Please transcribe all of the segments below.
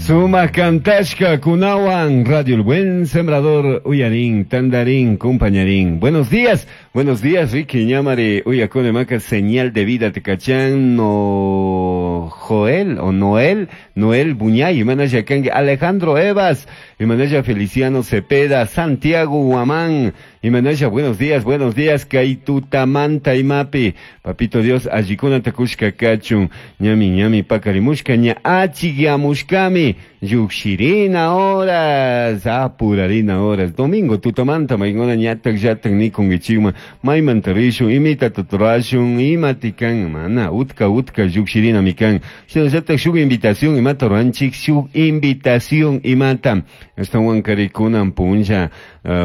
Suma Kantashka Kunawan, Radio El Buen Sembrador, Uyarín, Tandarín, Compañarín. Buenos días, Ricky Ñamari, Uyakune Maca, señal de vida, Tecachán, no Joel o Noel, Noel Buñay, Imanaya Kangue, Alejandro Evas, Imanaya Feliciano Cepeda, Santiago Huamán, Imanaya, buenos días, Kaitutamanta Imapi, Papito Dios, Allikuna Takushka Kachun, Ñami Ñami Pakarimushka, Ña Achigiamushkami, Yukshirina horas, apurarina horas, domingo tutamanta, maingona ñatak yatak nikungichikman, maymanta rishun, imita tuturashun, imatikan, mana, utka utka yukshirina mikan, shinallatak shuk invitación imata ruranchik, shuk invitación imata, ashtawan karikunan punlla,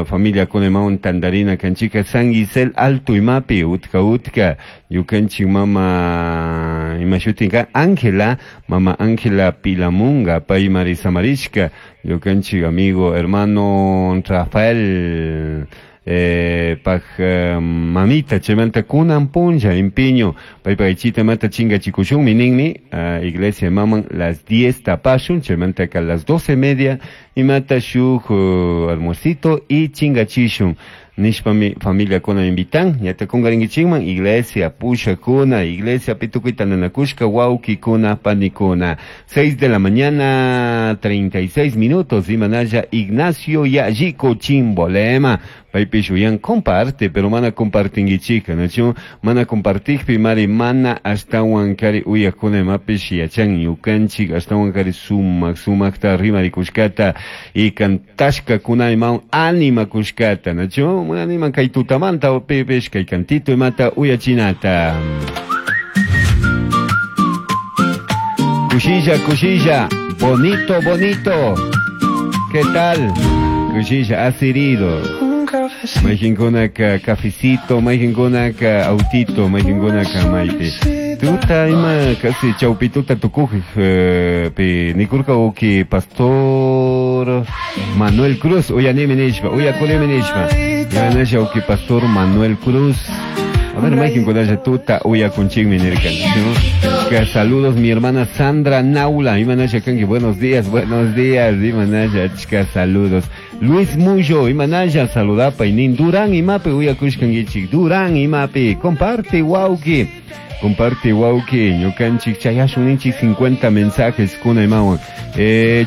familia kunemawan tandarina kanchika, San Gisel Alto imapi, utka utka, yukanchik mama, imashutinka, Ángela, mama Ángela Pilamunga, paymari Samarishka, yukanchik amigo, hermano Rafael, paj mamita chaymanta kunan punlla empeño paypa aychita mata chinga chikushunmi ninmi iglesia maman las 10 tapashun chaymanta ka las 12:30 imata shuk almuercito y chingachishun nishpami familia kuna invitan ñata kungarinkichikman iglesia pushakuna iglesia pitukuy tandanakushka wawkikuna panikuna 6 de la mañana 36 minutos imanalla Ignacio Yallico Chimbolema paypish uyan comparte pero mana compartinkichika nachu mana compartikpi mari mana ashtawan kari uyakuna imapish yachan ñukanchik ashtawan kari sumak sumakta rimarikushkata y kantashkakuna imawan animakushkata nachu animan kay tutamanta pipish kay kantito imata uyachinata. Cushilla, cushilla, bonito, bonito. ¿Qué tal? Cushilla, asirido. Mayqinkunaka cafecito, mayqinkunaka autito, mayqinkunaka maypi. Tuta ima casi chawpituta tukuj pi nikurka uki pastor Manuel Cruz, uyanimi nishpa, uyakunimi nishpa. Yanasha uki pastor Manuel Cruz. A ver, mayqinkunalla tuta uyakunchikmi nirkan. Saludos mi hermana Sandra Naula, imanasha kanki, buenos días, imanasha, chica, saludos. Luis Muyo, imanasha, saludapa, inin Durán, imapi, uyakushkankichik, Durán, imapi, comparte, wauki, comparte, wauki, ñukanchik, chayashun ninchik 50 mensajes, kuna imawan.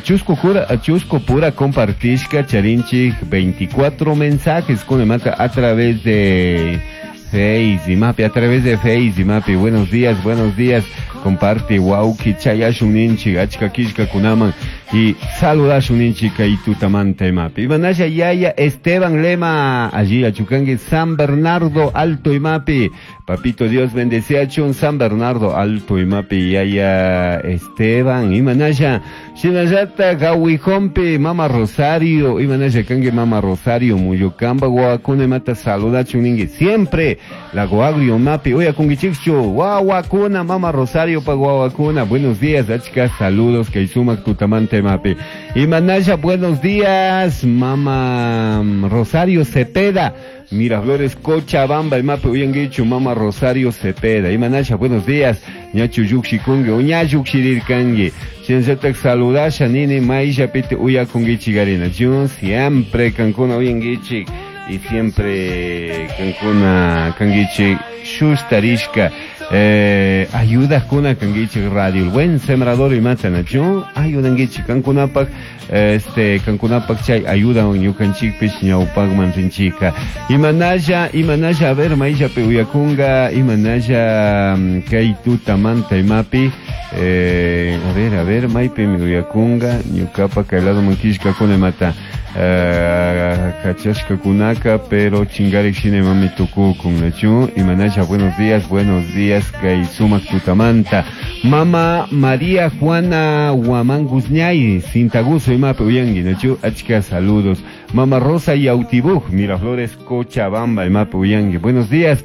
Chusco chusco pura compartishka, charinchik, 24 mensajes, kuna imata, a través de Face, imapi, a través de Face, imapi, buenos días, comparte, wauki, chayashun ninchik, achka kishka kunaman, y saludashun ninchik kay tutamanta imapi. Imanasha yaya Esteban Lema, allí achukangi, San Bernardo Alto imapi, papito Dios bendeciachun, San Bernardo Alto imapi, yaya Esteban, imanasha, shinallata gawijompi, mama Rosario, imanasha kangi mama Rosario, muyukamba, guacuna imata saludachun ningi, siempre, Lago Agrio mapi, uyakungichikchu, guaguacuna, mama Rosario pa guaguacuna, buenos días, achka, saludos, kay sumak tutamante mapi. Imanasha, buenos días, mama Rosario Cepeda, Miraflores, Cochabamba, el mapi, uyanguichu, mama Rosario Cepeda. Imanasha, buenos días, ñachu yukshikungi, uña yukshirirkangi. Shinllatak saludasha, nini, maisha, piti, uyakungichigarina. Yo siempre kankuna uyanguichik. Y siempre kankuna kanguichik shustarishka ayuda kuna kanguichik radio el buen sembrador y matanachu ayudanguichik kankunapak este kankunapak chay ayuda ñukanchikpish ñawpakman rinchika imanalla imanalla a ver maishapi uyakunga imanalla kay tutamanta imapi a ver maypimi uyakunga ñukapak kay lado mankishka kuna imata kachashka kunaka pero chingarik shina mami tukukun nachu imanasha buenos días kay sumak tutamanta mama María Juana Huamán Guzñay Cintaguso imapi uyangi nachu achka saludos mama Rosa Yautibuj Miraflores Cochabamba imapi uyangi buenos días.